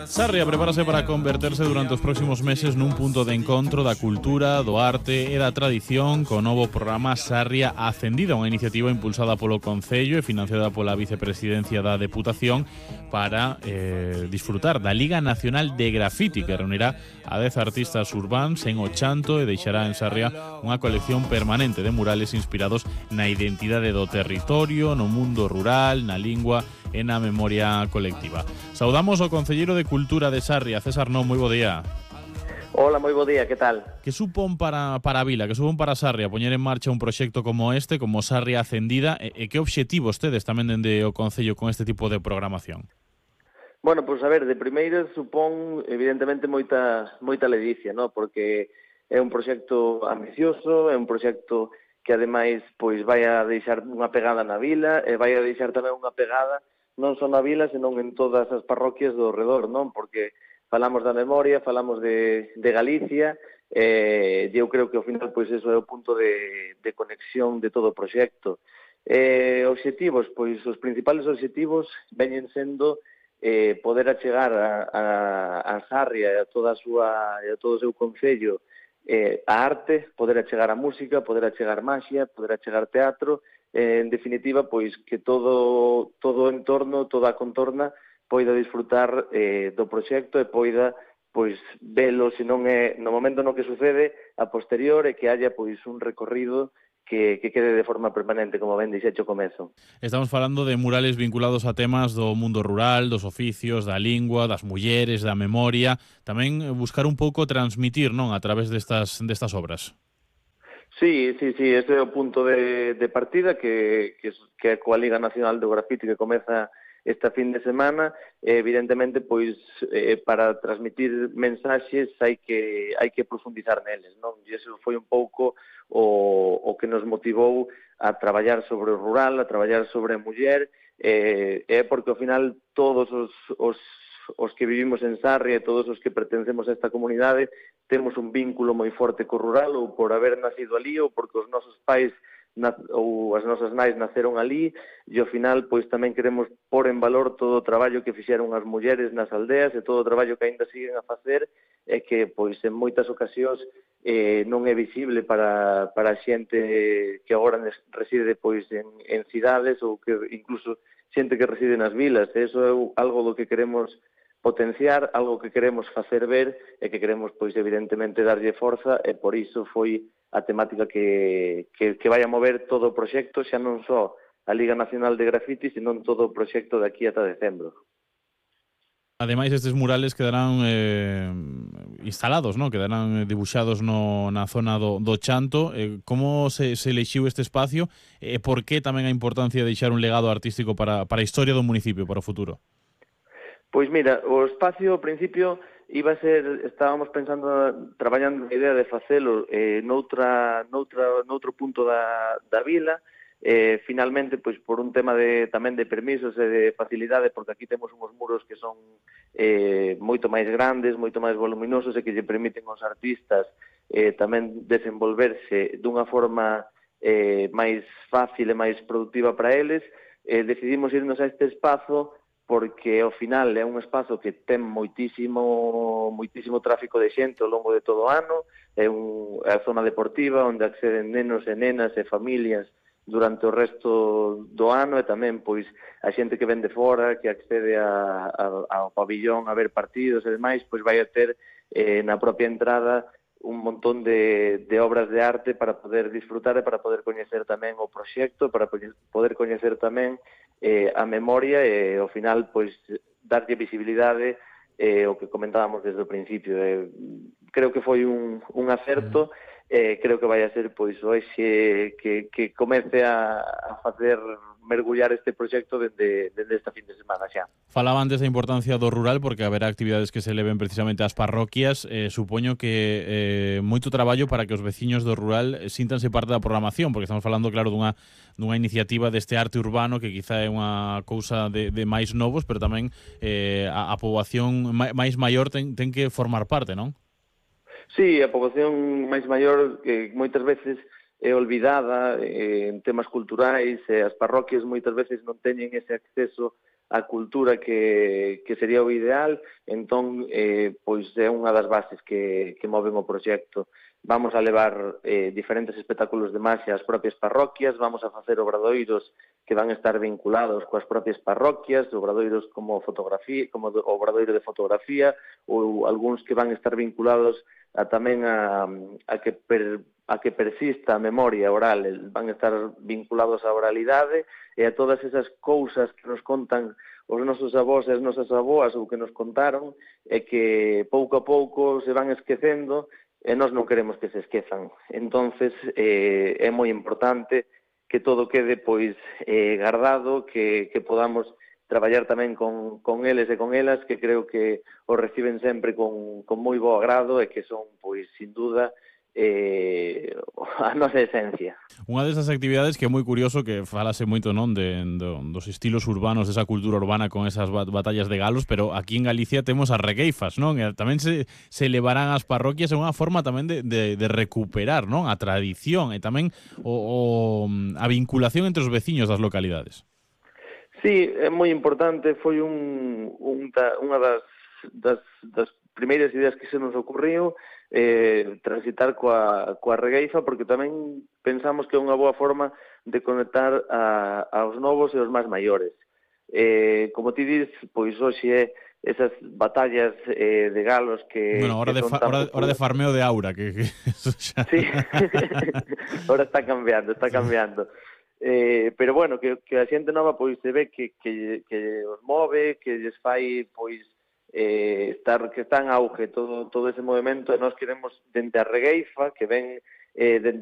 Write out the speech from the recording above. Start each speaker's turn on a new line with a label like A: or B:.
A: Sarria prepárase para converterse durante os próximos meses nun punto de encontro da cultura, do arte e da tradición co novo programa Sarria Ascendida, unha iniciativa impulsada polo Concello e financiada pola Vicepresidencia da Deputación para disfrutar da Liga Nacional de Graffiti, que reunirá a 10 artistas urbáns en Ochanto e deixará en Sarria unha colección permanente de murales inspirados na identidade do territorio, no mundo rural, na lingua e na memoria colectiva. Saudamos ao concelleiro de Cultura de Sarria, César Non, moi bo día.
B: Hola, moi bo día, que tal?
A: Que supón para a vila, que supón para Sarria poñer en marcha un proxecto como este, como Sarria Ascendida, e que obxectivos tedes tamén dende o concello con este tipo de programación?
B: Bueno, pois a ver, de primeira supón evidentemente moita ledicia, ¿no? Porque é un proxecto ambicioso, é un proxecto que ademais pois vai a deixar unha pegada na vila e vai a deixar tamén unha pegada non só na vila, senón en todas as parroquias do redor, non? Porque falamos da memoria, falamos de Galicia, eu creo que ao final pois eso é o punto de conexión de todo o proxecto. Obxectivos, pois os principales obxectivos veñen sendo poder achegar a Sarria e a todo o seu concello a arte, poder achegar a música, poder achegar maxia, poder achegar teatro, en definitiva, pois que todo o entorno, toda a contorna poida disfrutar do proxecto e poida pois velo, se non é no momento no que sucede, a posterior, e que haya pois un recorrido que quede de forma permanente, como ben dixecho ao comezo.
A: Estamos falando de murales vinculados a temas do mundo rural, dos oficios, da lingua, das mulleres, da memoria, tamén buscar un pouco transmitir, non, a través destas obras.
B: Sí, ese é o punto de partida que é coa Liga Nacional do Graffiti que comeza esta fin de semana. Evidentemente, pois, para transmitir mensaxes hai que profundizar neles, non? E iso foi un pouco o que nos motivou a traballar sobre o rural, a traballar sobre a muller, porque ao final todos os que vivimos en Sarria e todos os que pertencemos a esta comunidade temos un vínculo moi forte co rural, ou por haber nacido ali, ou porque os nosos pais ou as nosas nais naceron ali, e ao final pois tamén queremos pôr en valor todo o traballo que fixeron as mulleres nas aldeas e todo o traballo que aínda siguen a facer, e que pois en moitas ocasións non é visible para a xente que agora reside pois en cidades, ou que incluso xente que reside nas vilas. Eso é algo do que queremos potenciar, algo que queremos facer ver e que queremos, pois, evidentemente, darlle forza, e por iso foi a temática que vai a mover todo o proxecto, xa non só a Liga Nacional de Graffiti, senón todo o proxecto de aquí ata decembro.
A: Ademais, estes murales quedarán instalados, ¿no? Quedarán dibuixados na zona do Chanto. Como se elixiu este espacio e por que tamén a importancia de deixar un legado artístico para a historia do municipio, para o futuro?
B: Pois mira, o espacio ao principio iba a ser, estábamos pensando, traballando na idea de facelo noutro punto da vila. Finalmente, pois por un tema tamén de permisos e de facilidade, porque aquí temos uns muros que son moito máis grandes, moito máis voluminosos, e que lle permiten aos artistas tamén desenvolverse dunha forma máis fácil e máis productiva para eles. Decidimos irnos a este espazo porque ao final é un espazo que ten moitísimo tráfico de xente ao longo de todo o ano, é a zona deportiva onde acceden nenos e nenas e familias durante o resto do ano, e tamén pois a xente que ven de fora, que accede ao pabillón a ver partidos e demais, pois vai a ter na propia entrada un montón de obras de arte para poder disfrutar e para poder coñecer tamén o proxecto, para poder coñecer tamén a memoria e, ao final, pois, darlle visibilidade o que comentábamos desde o principio. Creo que foi un acerto, creo que vai a ser, pois, hoxe que comece a facer mergullar este proxecto dende esta fin de semana xa.
A: Falaba antes da importancia do rural porque haberá actividades que se leven precisamente ás parroquias. Supoño que moito traballo para que os veciños do rural síntanse parte da programación, porque estamos falando, claro, dunha iniciativa deste arte urbano que quizá é unha cousa de máis novos, pero tamén a poboación máis maior ten que formar parte, non?
B: Sí, a poboación máis maior que moitas veces é olvidada en temas culturais, e as parroquias moitas veces non teñen ese acceso a cultura que sería o ideal, entón pois é unha das bases que moven o proxecto. Vamos a levar diferentes espectáculos de maxia ás propias parroquias, vamos a facer obradoiros que van a estar vinculados coas propias parroquias, obradoiros como fotografía, como o obradoiro de fotografía, ou algúns que van a estar vinculados tamén a que persista a memoria oral, van a estar vinculados á oralidade e a todas esas cousas que nos contan os nosos avós e as nosas avoas ou que nos contaron e que pouco a pouco se van esquecendo e nós non queremos que se esquezan. Entonces é moi importante que todo quede pois guardado, que podamos traballar tamén con eles e con elas, que creo que o reciben sempre con moi bo agrado e que son, pois, sin duda, a nosa esencia.
A: Unha desas actividades que é moi curioso, que falase moito non dos estilos urbanos, desa cultura urbana con esas batallas de galos, pero aquí en Galicia temos as regueifas, non? E tamén se levarán ás parroquias, é unha forma tamén de recuperar, non? A tradición e tamén a vinculación entre os veciños das localidades.
B: Sí, é moi importante, foi unha das primeiras ideas que se nos ocurriu, transitar coa regueifa, porque tamén pensamos que é unha boa forma de conectar aos novos e aos máis maiores. Como ti dis, pois hoxe esas batallas de galos que...
A: Bueno, hora de farmeo de aura, que eso xa...
B: Sí, ahora está cambiando. Pero bueno, que a xente nova pois se ve que os move, que lles fai pois que está en auge todo ese movimento, e nós queremos dende a regueifa, que ven dende